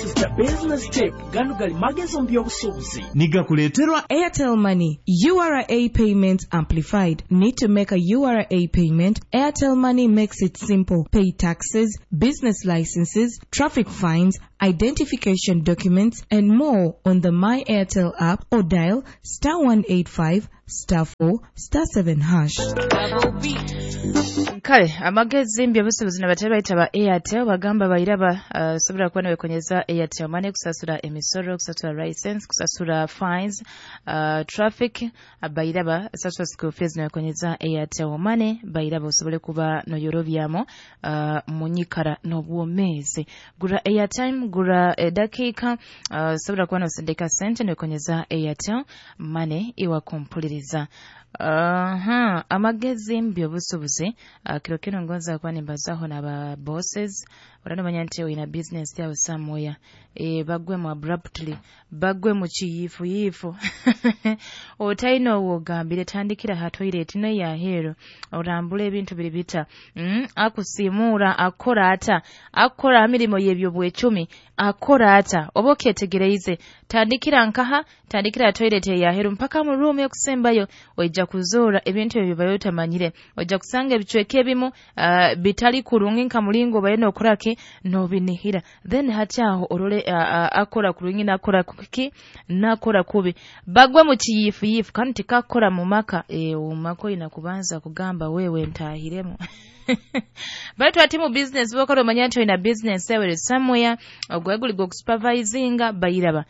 This is the business tip. Gano gali magezi mu by'obusuubuzi. Nigakuleeterwa Airtel Money, URA Payments Amplified. Need to make a URA payment? Airtel Money makes it simple. Pay taxes, business licenses, traffic fines, identification documents, and more on the My Airtel app or dial *185 *4 *7#. Kale amagezi mbyobusuubuzi nabatera bayita ba Airtel bagamba bayiraba sobola kuba newekonyeza Airtel Money kusasula emisolo, kusasula license, kusasula fines, traffic, bayiraba sasula school fees newekonyeza Airtel Money bayiraba osobole kuba noyorobyamu munyikara n'obwomeezi. Gura airtime, gura edakiika, sobola kuba nosindika sente newekonyeza Airtel Money iwakumpuliriza. Aha, amagezi mbyobusuubuzi, kiro kino ngonza kuba nimbazaho n'aba bosses. Uranomanya nti oyina business yawe somewhere, bagwemu abruptly, bagwe mu kiyiifuyiifu, otalina owogambire, tandikira ha toilet neyaheero orambula ebintu biri bita, akusiimuura akora ata, akora mirimo yebyo bwecumi akora ata, oba okyetegereize. Tandikira nkaha, tandikira toilet eyaheru mpaka mu room yokusembayo, ojja kuzoora ebintu ebyo bayo otamanyire, ojja kusanga ebicweka ebimu bitali kurungi nka mulingo obaye nokoraki nobinihira. Then hati aho orole akora kurungi nakora kuki nakora kubi, bagwe mu kiyifuyifu kandi tikakora mu maka. Umaka oyina kubanza kugamba wewe ntahiremu. Baitu ati mu business bokora omanya nti oyina business yawe somewhere ogwe guli gokusupervisinga bayiraba,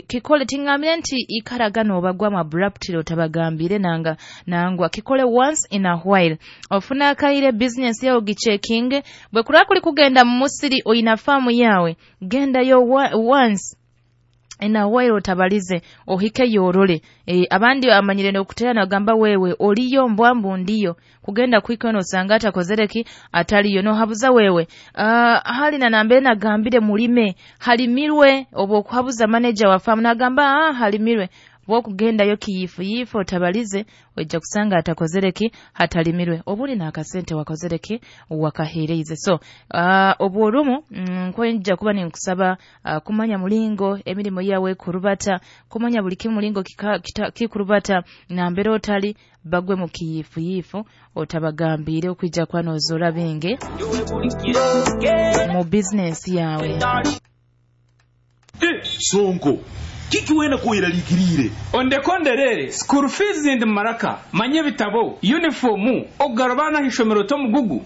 kikole tingambire nti ikaragano obagwamu abruptly otabagambire nanga nangwa, kikole once in a while. Ofuna akaire business yawe gichecking, bwe kura kuli kugenda mu musiri oyina famu yawe, gendayo once in a while otabalize ohike yorole. Abandi amanyire nokutera nagamba wewe oliyo mbwambu ndiyo kugenda kwiko nosanga atakozereki ataliyo nohabuza wewe. Hali na nambere nagambire mulime halimirwe, obo okuhabuza manager wa farm nagamba halimirwe, bwokugendayo kiyifuyifu otabalize ojja kusanga atakozereki hatalimirwe, obuli n'akasente wakozereki wakaheereize. So obworumu nkwenja kuba ninkusaba kumanya mulingo emirimu yawe kurubata, kumanya buli kimu mulingo kikurubata nambere otali bagwe mu kiyifuyifu otabagambire okwijja kwa nozora bingi mu business yawe. Sonko kiki wena kuiralikirire ondekonderere school fees ndi maraka manye bitabo uniform ogarabana hishomero to mugugu.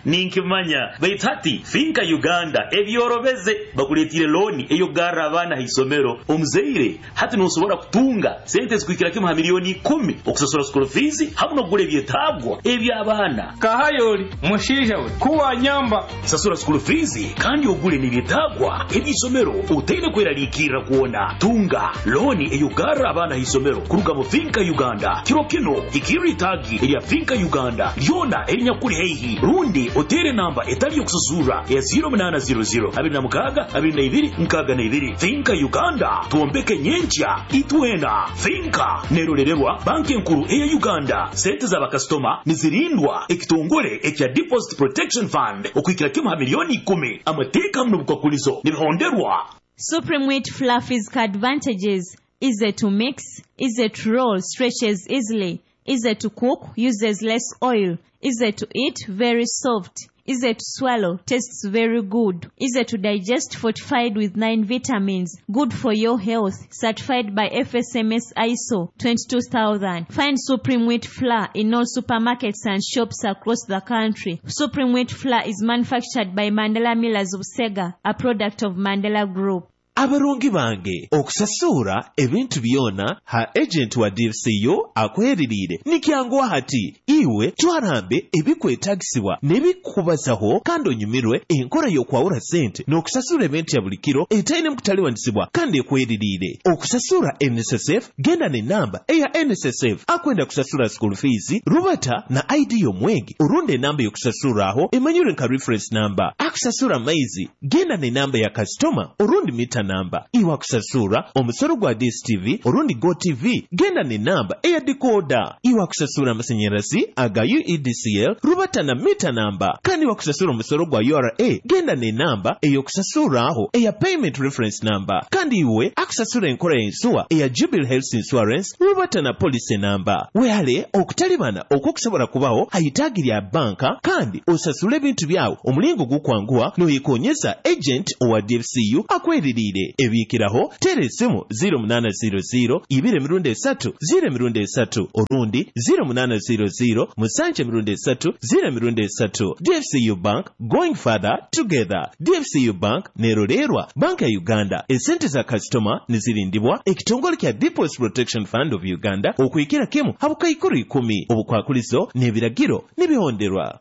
Ninkimanya baitati Finka Uganda ebyorobeze bakuletire loni eyo gara abana hisomero omuzeire hati nosobora kutunga sente zikuikira kimu ha milioni 10 okusasura school fees hamwe nokugula ebyetabwa eby'abaana. Kahayoli mushinja we kuwa nyamba sasura school fees kandi ogule n'ebyetabwa eby'isomero utaine kweralikirira kuona. Tunga loni eyugara abana hisomero kuruga mu Finka Uganda. Kiro kino ikiri tagi erya Finka Uganda lyona erinyakuli heihi rundi otere namba etali yokusasura ya 0800 26 22 62. Finka Uganda tuombeke nyencha itwena. Finka nerolererwa banki enkuru eya Uganda. Sente z'abakasitoma nizirindwa ekitongole ekya Deposit Protection Fund okuikira kimu ha milioni 10. Amateeka muno bukwakulizo nibihonderwa. Supreme Wheat Fluffy's advantages: easy to mix, easy to roll, stretches easily, easy to cook, uses less oil, easy to eat, very soft, easy to swallow, tastes very good, easy to digest, fortified with 9 vitamins, good for your health, certified by FSMS ISO 22000. Find Supreme Wheat Flour in all supermarkets and shops across the country. Supreme Wheat Flour is manufactured by Mandela Millers of Sega, a product of Mandela Group. Abarungi bange okusasura ebintu byona ha agent wa DFCU akweririire nikyanguwa hati iwe twarambe ebikwetagisibwa n'ebikubazaho kandi onyumirwe enkola y'okwawula sente n'okusasura ebintu ya buli kiro etaine mukutaliwanisibwa kandi ekweririire. Okusasura NSSF genda n'enamba eya NSSF akwenda kusasura school fees rubata na ID y'omwegi orunda enamba y'okusasura aho emanyirwe nka reference number. Akusasura maizi genda n'enamba ya customer orundi mita namba. Iwe akusasura omusoro gwa DSTV orundi GoTV, genda n'enamba eya decoder. Iwe akusasura amasanyarazi aga UEDCL, rubata na mita namba. Kandi iwe akusasura omusoro gwa URA, genda n'enamba ey'okusasuraaho eya payment reference number. Kandi iwe akusasura enkola y'ensuwa eya Jubilee Health Insurance, rubata na policy namba. Wehale okutalibana okwokusobola kubaho ha itaagi lya banka, kandi osasule ebintu byawe omulingo gukwanguha noyekonyeza agent owa DFCU akweririire. Ebiikiraho teera esimu 0800 2 3 0 3 orundi 0800 7 3 0 3. DFCU Bank, going further together. DFCU Bank nerolerwa Banka ya Uganda. Esente za kasitoma nizirindibwa ekitongole kya Deposit Protection Fund of Uganda okuhikira kimu habukaikuru 10. Obukwakulizo n'ebiragiro nibihonderwa.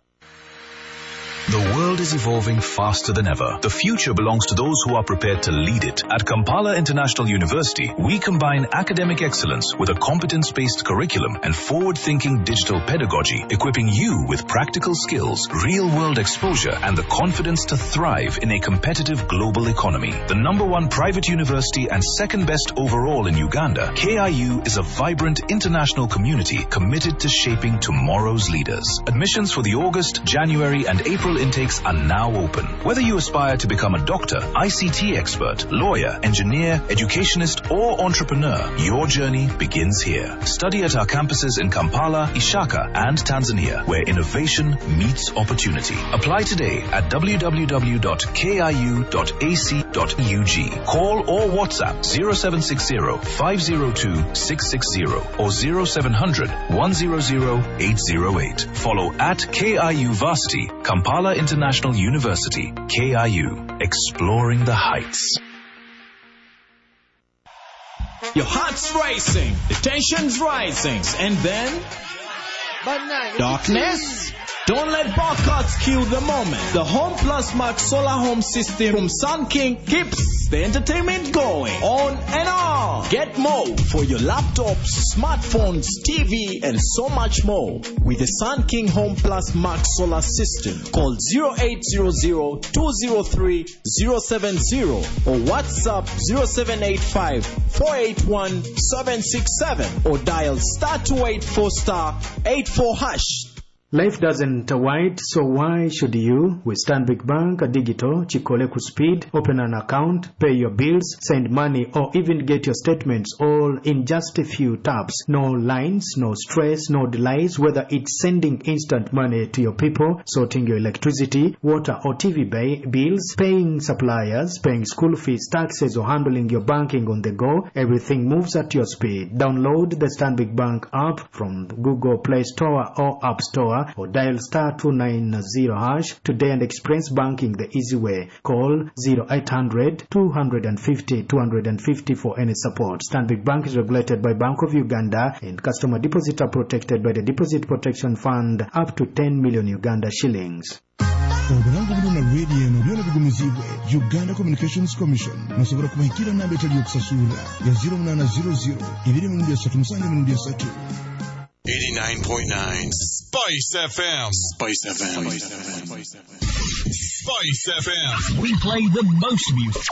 The world is evolving faster than ever. The future belongs to those who are prepared to lead it. At Kampala International University, we combine academic excellence with a competence-based curriculum and forward-thinking digital pedagogy, equipping you with practical skills, real-world exposure, and the confidence to thrive in a competitive global economy. The number one private university and second best overall in Uganda, KIU is a vibrant international community committed to shaping tomorrow's leaders. Admissions for the August, January, and April intakes are now open. Whether you aspire to become a doctor, ICT expert, lawyer, engineer, educationist, or entrepreneur, your journey begins here. Study at our campuses in Kampala, Ishaka, and Tanzania, where innovation meets opportunity. Apply today at www.kiu.ac.ug. Call or WhatsApp 0760 502 660 or 0700 100 808. Follow at KIU Varsity, Kampala International University, KIU, exploring the heights. Your heart's racing, the tension's rising, and then darkness? Don't let barcodes kill the moment. The Home Plus Max Solar Home System from Sun King keeps the entertainment going on and on. Get more for your laptops, smartphones, TV, and so much more with the Sun King Home Plus Max Solar System. Call 0800 203 070 or WhatsApp 0785 481 767 or dial star 284 star 84 hash. Life doesn't wait, so why should you? With Stanbic Bank Digital, Chikole ku speed, open an account, pay your bills, send money, or even get your statements all in just a few taps. No lines, no stress, no delays, whether it's sending instant money to your people, sorting your electricity, water or TV bills, paying suppliers, paying school fees, taxes, or handling your banking on the go, everything moves at your speed. Download the Stanbic Bank app from Google Play Store or App Store or dial star 290 hash today and experience banking the easy way. Call 0800 250 250 for any support. Stanbic Bank is regulated by Bank of Uganda and customer deposits are protected by the Deposit Protection Fund up to 10 million Uganda shillings. Obulango buno na rediyo eno byona bigumizibwe Uganda Communications Commission. Musobola kubahikira namba etali yokusasulira ya 0800 2 3 7 3. 89.9 Spice FM. Spice FM. Spice FM. We play the most music.